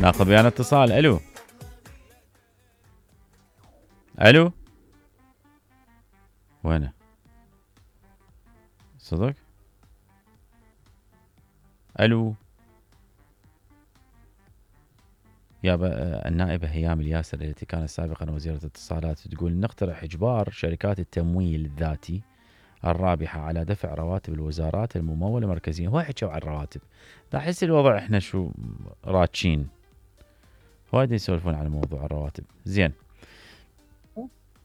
ناخذ ويانا اتصال. الو الو وينه صدق؟ الو يابا. النائبة هيام الياسر التي كانت سابقا وزيرة الاتصالات تقول نقترح إجبار شركات التمويل الذاتي الرابحة على دفع رواتب الوزارات الممولة مركزيا. هو حكوا عن الرواتب، لا أحس الوضع إحنا شو راتشين وايد يسولفون على موضوع الرواتب. زين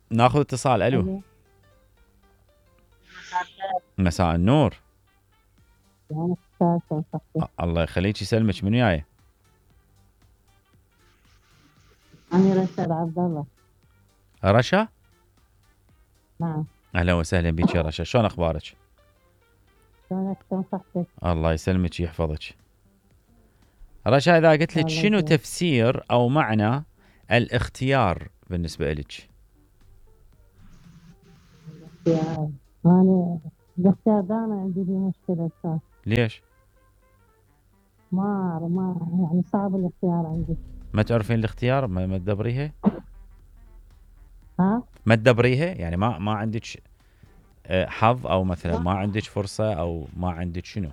ناخذ اتصال. الو مساء النور. الله يخليك يسلمك. من وياي؟ أنا رشا عبد الله. رشا؟ نعم. اهلا وسهلا بك يا رشا، شلون اخبارك؟ شلونك؟ شلون صحتك؟ الله يسلمك ويحفظك. رشا اذا قلت لك شنو تفسير او معنى الاختيار بالنسبه لك؟ الاختيار، انا الاختيار ده انا عندي فيه مشكله استاذ. ليش؟ ما يعني صعب الاختيار عندي. ما تعرفين الاختيار؟ ما تدبريها؟ ها؟ ما تدبريها يعني ما عندك حظ او مثلا ما عندك فرصه او ما عندك شنو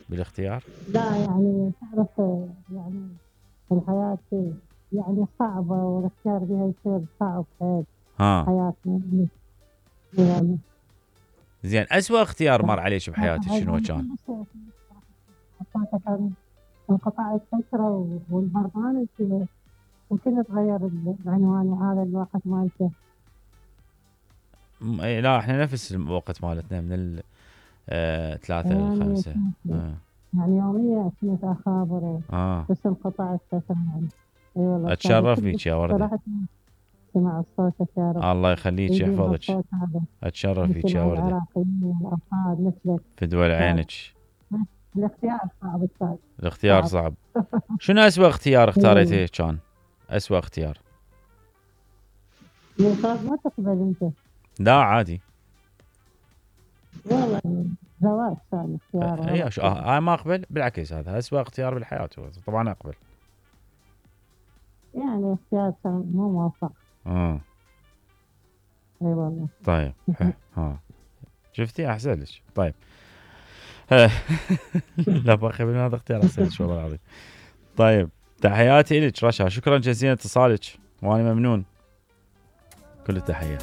بالاختيار؟ لا يعني تعرف يعني الحياه يعني صعبه والاختيار بها يصير صعب حيل. حياتنا يعني. زين اسوأ اختيار مر عليك بحياتك شنو كان؟ كان انقطاع الفترة والبرنامج وكل تغير العنوان وهذا الوقت مالته. لا احنا نفس الوقت مالتنا من 3 ل 5 يعني يوميا كنت اخابر بس انقطاع الفترة يعني. اي والله اتشرف بيك يا وردة. سمع صوتك يا رب. الله يخليك يحفظك. اتشرف بيك يا وردة. العراقيين والافراد مثلك. فدوى عينك. الاختيار صعب استاذ. الاختيار صعب. شنو اسوأ اختيار اختاريته كان؟ اسوأ اختيار. ما تقبل انت؟ لا عادي. والله زواج ثاني اختيار. اي ما اقبل بالعكس، هذا اسوأ اختيار بالحياة طبعا اقبل. يعني اختيار مو موفق. اي والله. طيب شفتي احسن لك. طيب لا باخي من هذا اختيار احسن لك والله العظيم. طيب تحياتي لك رشا، شكرا جزيلا اتصالك وانا ممنون. كل التحية.